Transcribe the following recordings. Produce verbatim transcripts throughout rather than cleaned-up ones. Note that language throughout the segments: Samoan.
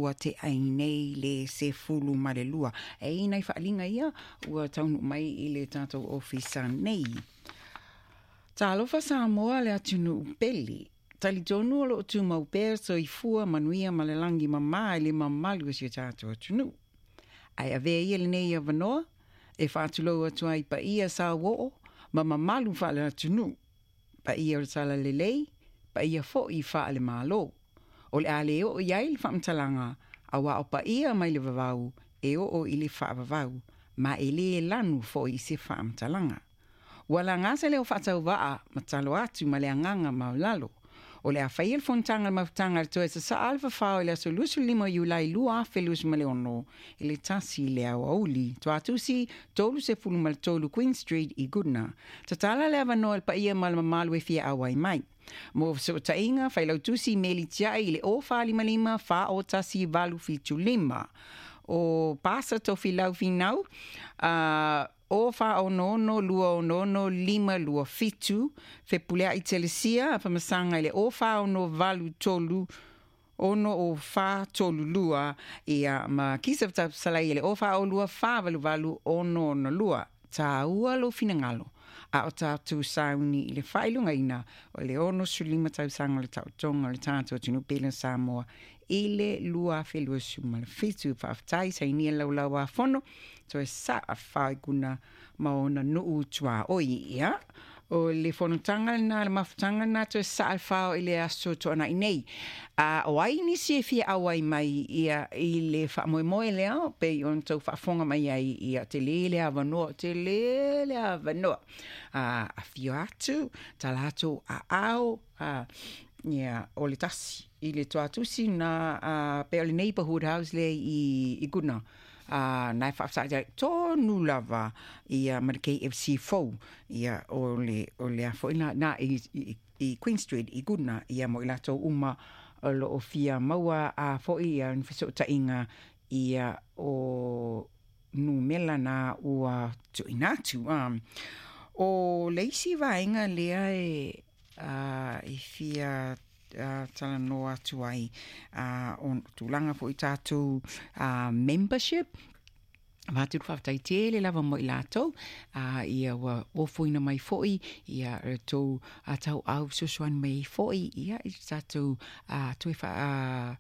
Ua te ai nei le sefulu ma le lua. E i nai faaliga ia ua taunuu mai i le tatou ofisa nei. Talofa Samoa le atunuu pele. Talitonu o loo tumau pea soifua manuia ma le lagi mamā i le mamalu o si o tatou atunuu. Ae avea ia lenei avanoa e faatulou atu ai i paia sauoo ma mamalu faale-atunuu, paia o le talalelei, paia foi faale-Malo. O le a le oo i ai le faamatalaga, aua o paia mai le vavau e oo i le faavavau, ma e le lanu foi i se faamatalaga. Ua laga se leo faatauvaa ma talo atu ma le agaga maualalo. O le a faia le fonotaga a le Mafutaga a le Toe Sasaa le Fafao i le aso luasefulu lima o Iulai lua afe luasefulu ma le ono i le tasi i le aoauli. Toatusi, tolu sefulu ma le tolu Queen Street i Goodna. Tatala le avanoa i le paia ma le mamalu e fia auai mai. Mo fesootaiga, Failautusi Meli Tiai i le o fa lima lima fa o tasi valu fitu lima. O Pasa Tofilau Finau, uh, o fa ono ono lua ono ono lima lua fitu. Fepuleai Telesia, Famasaga i le o fa ono valu tolu ono o fa tolu lua ia ma Kisa Salai i le o fa o lua fa valu valu ono ono lua. Tāua lou finagalo a o tatou sauni i le faailogaina o le ono sulima tausaga o le taotoga o le tatou atunuu pele o Samoa i le lua afe luasefulu ma le fitu. Faafetai sainia laulau a fono toe saa faiguna ma ona nuu tuaoi ia. O le fonotaga lena, le mafutaga lena toe saa le fao i le aso Toanai nei. A o ai nisi e fia auai mai ia i le faamoemoe lea pei ona tou faafofoga mai ai ia tele le avanoa, tele le avanoa. A afio atu, tala atu aao, a ia o le tasi i le toatusi na uh, pe o le neighborhood house le i, i Goodna. Uh, na e faafetai tonu lava ia ma le K F C fou ia o le o le a foi na, na i, i, i Queen Street i Goodna ia mo i latou uma o lo o fia maua a foi ia ni fesootaiga ia o numela na ua tuuina atu. Um, o le isi vaega lea e, uh, e fia uh, talanoa atu ai uh, o tulaga foi tatou uh, membership. Avatu le faafetai tele lava mo i latou uh, ia ua ofoina mai foi ia le tou uh, tauau fesoasoani mai ai foi ia i tatou uh, toe fa, uh,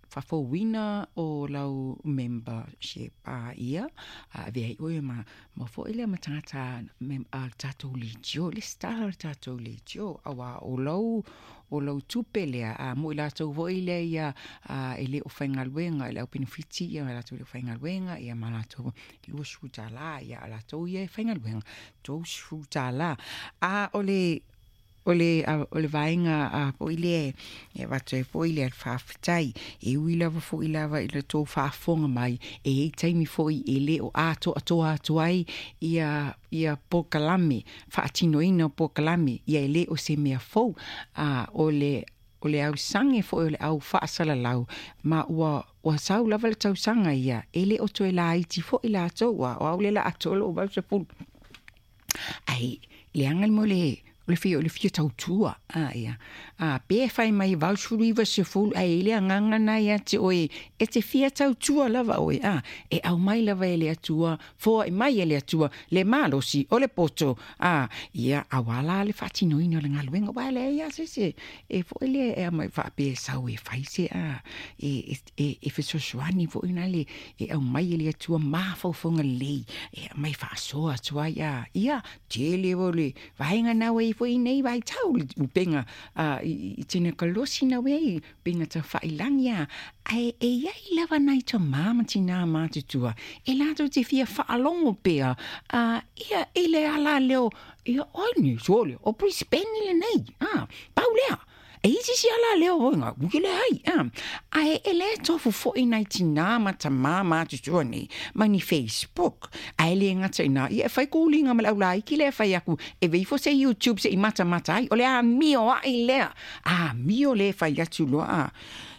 faafouina o lau membership a ia a avea ai oe ma ma foi lea ma tagata mem, a tatou leitio le stala o le tatou leitio auā o lau o lau tupe lea a mo i latou foi lea ia a, e le o faigaluega i le au penefiti ia latou le o faigaluega ia ma latou luasefulu tālā ia a latou ia e faigaluega tolusefulu tālā. A o le o le o le vaega a foi lea e avatu ai foi le faafetai e ui lava foi lava i le tou faafofoga mai e i ai taimi foi e le o atoatoa atu ai ia ia polokalame faatinoina o polokalame ia e le o se mea fou a o le o le ausage foi o le au faasalalau ma ua ua sau lava le tausaga ia e le o toe laiti foi latou a o au le la atoa lou valusefulu ai leaga le mo le o le fia o le fia tautua a ia a pe fai mai valusefulu iva sefulu ae i le agaga na ia te oe e te fia tautua lava oe a e aumai lava e le Atua foai mai e le Atua le malosi o le poto a ia auā la le faatinoina o le galuega ua leai lava se isi e foi lea e aumai faapea e sau e fai se a e e e fesoasoani foi na le e aumai e le Atua mafaufauga lelei e aumai faasoa atu ai a ia tele o le vaega na ua i foi nei vaitau le upega a i tinekalosi na ua i upega taufailagi a ae e iai lava nai tamā ma tinā matutua e latou te fia faalogo pea a ia i le ala leo ia oi ni sole o Brisbane lenei a pau lea e isi si ala leo oinga uki le ai a ae e le tofu foi nai tinā ma tamā matutua nei ma ni Facebook ae le gata ina ia e fai kuliga ma le aulaiki lea e fai aku e veifo se YouTube seʻi matamata ai o le amio aʻi lea amio le fai atu loa a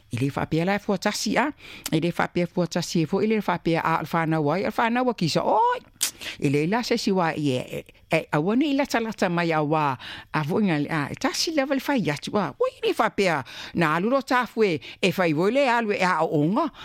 e le faapea la e fuatasi a e le faapea fuatasi e foi le faapea a o le fanau ai o le fanau a kisa oi. E leai la se isi uā e e aua nei latalata mai auā a foi a e tasi lava le fai atu a ua i le faapea na alu lo tafu e e fai foi le alu e aoaoga.